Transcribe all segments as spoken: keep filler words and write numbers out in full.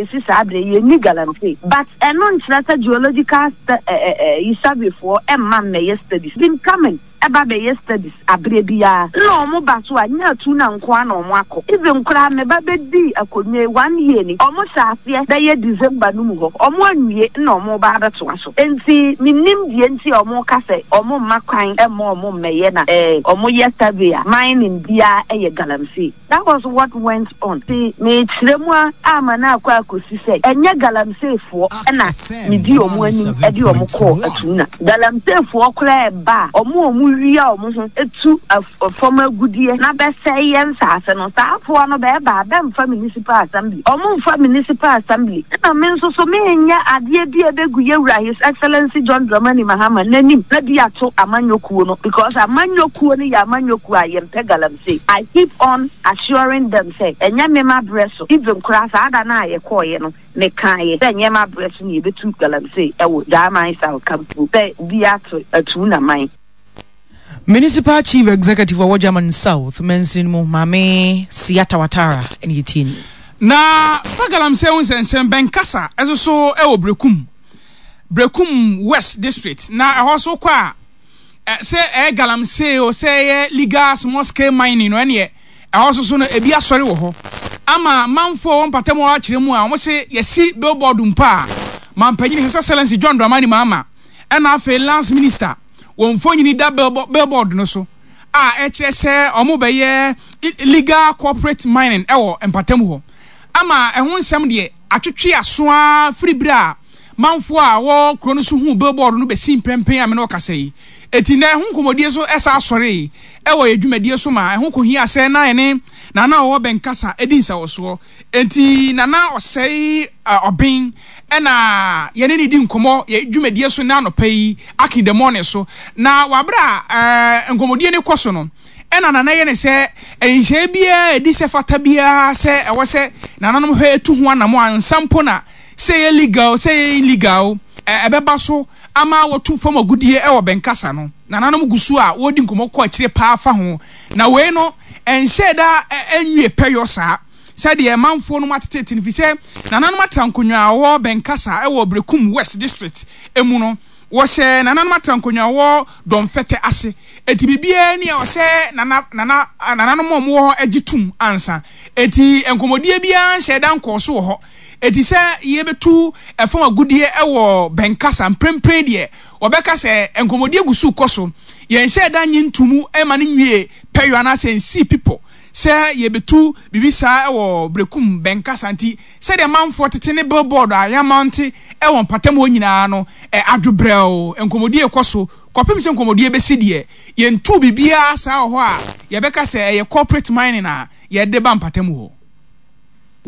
Bɛsi saa berɛ yɛnni galamsey, but ɛno nkyerɛ sɛ geological survey foɔ ɛmma mmɛyɛ studies. Been coming, ɛba bɛyɛ studies aberɛ biara na ɔmo ba so a, nyɛ atu na nko a na ɔmo akɔ. Even koraa meba bɛdi akonnwa yi one year ni, ɔmo hyɛ aseɛ bɛyɛ December no mu hɔ, ɔmo anwie na ɔmo ba abɛtoa so. Nti menim deɛ nti a ɔmo ka sɛ ɔmo mma kwan ɛmma ɔmo mmɛyɛ na ɛɛ ɔmo yɛ survey a, mining biara ɛyɛ galamsey. That was what went on. Ti mekyerɛ mu a ama na akɔ akɔsi sɛ ɛnyɛ galamseyfoɔ ɛna medi ɔmo anim ɛde ɔmo kɔɔ Atuna. Galamseyfoɔ koraa ɛba a, ɔmo a ɔmo wia ɔmo ho etu fam agudeɛ na bɛsɛe yɛn nsaase no, saa afoɔ no bɛɛba a, bɛmfa municipal assembly, ɔmo mfa municipal assembly. Ɛna me nso so menyɛ adeɛ bi a ɛbɛgu yɛwura His Excellency John Dramani Mahama n'anim na bi ato amanyɔkuo no, because amanyɔkuo no yɛ amanyɔkuo a yɛmpɛ galamsey. I keep on assuring them sɛ ɛnyɛ me ma brɛ so. Even koraa saa da no a yɛkɔɔyɛ no, mekaeɛ sɛ ɛnyɛ ma brɛ so ne yɛbɛtu galamsey ɛwɔ German South Kampo sɛ bi ato atu naman. Municipal Chief Executive ɔwɔ German South mansini mu, Maame Siata Watara, ɛne yɛtie ni. Na fa galamsey ho nsɛnsɛm bɛnkasa ɛso so ɛwɔ Brekum Brekum West District, na ɛhɔ so kɔ a, sɛ ɛyɛ galamsey o, sɛ ɛyɛ legal small scale mining no, ɛneɛ ɛhɔ so so no ebi asɔre wɔ hɔ ama manfoɔ wɔn mpatam wɔ akyerɛ mu a wɔn sɛ yɛsi billboard mpo a, mampanyin His Excellency John Dramani Mahama ɛna afei Lands Minister wɔn mfonyin da billboard no so a ɛkyerɛ sɛ wɔn bɛyɛ illegal corporate mining ɛwɔ mpatam hɔ, ama ɛho nsɛm deɛ atwitwe asoa firi bere a manfoɔ a wɔ kuro no so hu billboard no bɛsi mprɛmpɛn a me ne ɔkasa yi. Eti na ɛho nkɔmɔdie so ɛsa asɔre ɛwɔ yɛ dwumadie so ma ɛho kohia sɛ na yɛne Nana ɔwɔ Bɛnkasa edi nsawɔsoɔ. Eti Nana Ɔsɛe Ɔben ɛna yɛne ne di nkɔmɔ yɛ dwumadie so na anɔpa yi Akin in the Morning so. Na wabere a ɛɛ nkɔmɔdie ne kɔ so no, ɛna Nana yɛ ne sɛ nhyɛn biara edi sɛ fata biara sɛ ɛwɔ sɛ nananom hwɛ etu ho anam ansa mpo na sɛ yɛ legal, sɛ yɛ illegal, ɛbɛba so ama wɔtu fam agudie ɛwɔ Bɛnkasa no. Nananom gu so a wɔredi nkɔmɔ kɔ akyire paa fa ho, na wei no ɛnhyɛ da ɛnwie pɛyɔ saa sɛdeɛ manfoɔ no mu atetete no, fi sɛ nananom atra nkonnwa a wɔwɔ Bɛnkasa ɛwɔ Brekum West District emu no, wɔhyɛ nananom atra nkonnwa a wɔwɔ Dɔnfɛtɛ ase. Eti biribiara ni a ɔhyɛ nana nana nananom a wɔwɔ hɔ agye tum ansa. Eti nkɔmɔdie biara nhyɛ da nkɔɔ so wɔ hɔ. Eti sɛ yɛbɛtu ɛfam agudie ɛwɔ Bɛnkasa mprempren deɛ, wɔbɛka sɛ nkɔmɔdie gu so kɔ so. Yɛnhyɛ da nye ntumu ɛma no nwie pɛyɔ anaasɛ nsi pipɔ sɛ yɛbɛtu biribi saa ɛwɔ Brekum Bɛnkasa. Nti sɛdeɛ manfoɔ tete ne billboard a yɛamante ɛwɔ mpatam hɔ nyinaa no, ɛ adwobrɛw nkɔmɔdie kɔ so kɔpem sɛ nkɔmɔdie bɛsi deɛ, yɛntu biribiara saa wɔ hɔ a yɛbɛka sɛ ɛyɛ corporate mining a yɛde ba mpatam hɔ.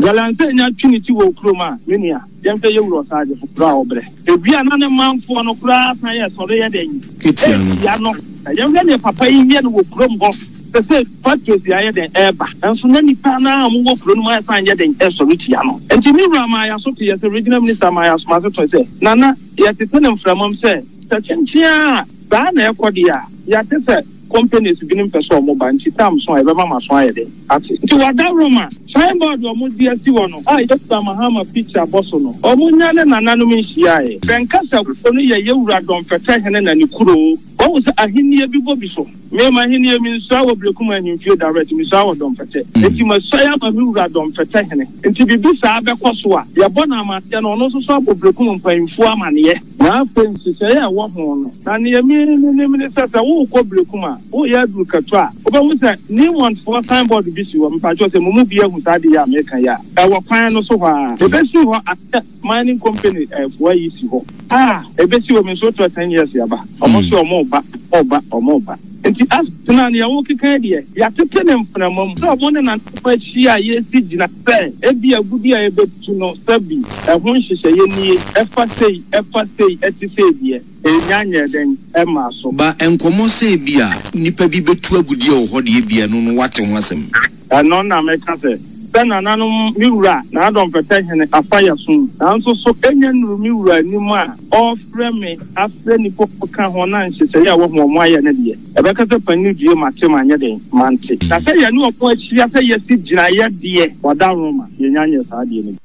Galamsey nya twi ne ti wɔ kurom a, me nua, yɛmfɛ yɛwura ɔsaagye foforɔ a ɔbrɛ ewia na ne manfoɔ no koraa san yɛ sɔre yɛ dɛn etia no. Yɛmhwɛ neɛ papa yi yɛ no wɔ kurom hɔ sɛ sɛ factories ayɛ dɛn ɛɛba nso na nipa naa a wɔwɔ kuro no mu ayɛ san yɛ dɛn ɛsɔre tia no. Nti me wura maa yɛaso te yɛ sɛ Regional Minister maa yɛaso ase to sɛ nana yɛtete ne mframam sɛ sɛ kyenkyea a saa na ɛkɔ deɛ a, yɛate sɛ companies binom pɛ sɛ ɔmo ba, nti tam so a yɛbɛma ma so ayɛ dɛn ate. Nti wada Roma signboard ɔmo de asi hɔ no a yɛwura Mahama picture bɔ so no, ɔmo nya ne nananom nhyiaeɛ. Bɛnkasa kuro no yɛ yɛwura Dɔnfɛtɛ hene na ne kuro. Wɔn sɛ ahennie bi bɔ bi so. Mema ahennie mi nsua wɔ Berekum ahemfie direct, mesua wɔ Dɔnfɛtɛ. Eti masua ama me wura Dɔnfɛtɛ hene. Nti biribi saa bɛkɔ so a, yɛbɔ no amanneɛ no, ɔno nso so abɔ Berekum mpanyinfoɔ amanneɛ. Na afei nhyehyɛeɛ a ɛwɔ ho no, na nea mi nim ne sɛ sɛ worekɔ Berekum a, woyɛ aduru kɛtɔ a, wobɛhu sɛ Newmontfoɔ signboard bi si hɔ. Mpakyɛw, sɛ mo mu bi ahu saa adeɛ yi a meka yi a, ɛwɔ kwan no so hɔ a ebesi hɔ asɛ mining company ɛfoɔ yi si hɔ a ebesi hɔ. Mi nso tɔ ten years yaba, ɔmo sɛ ɔmo ba, ɔmo ba, ɔmo ba. Nti asena nea wɔkeka deɛ, yɛatete ne mframa mu sɛ ɔmo ne nananom ahyia a yɛsi gyina sɛ ebi agudi a yɛbɛtu no, sɛbi ɛho nhyehyɛeɛ nie, ɛfa sei, ɛfa sei, ɛte sei deɛ, ɛnya nyɛ dɛn ɛma so. Ba nkɔmmɔ sɛ bi a nnipa bi bɛtu agudie wɔ hɔ deɛ, bia no no wate ho asɛm? Ɛno na meka sɛ sɛ nananom, me wura na Adɔmfɛtɛ hene afa yɛ som, nanso so ɛnya nnuru me wura anim a ɔrefrɛ me afrɛ nnipa ka ho na nhyehyɛeɛ a wɔhu ɔmo ayɛ no deɛ, ɛbɛka sɛ panyin due mate manyɛ den mante. Na sɛ yɛne ɔmo ahyia sɛ yɛsi gyinaeɛ deɛ, wada Roma, yɛnya nyɛ saa deɛ no bi.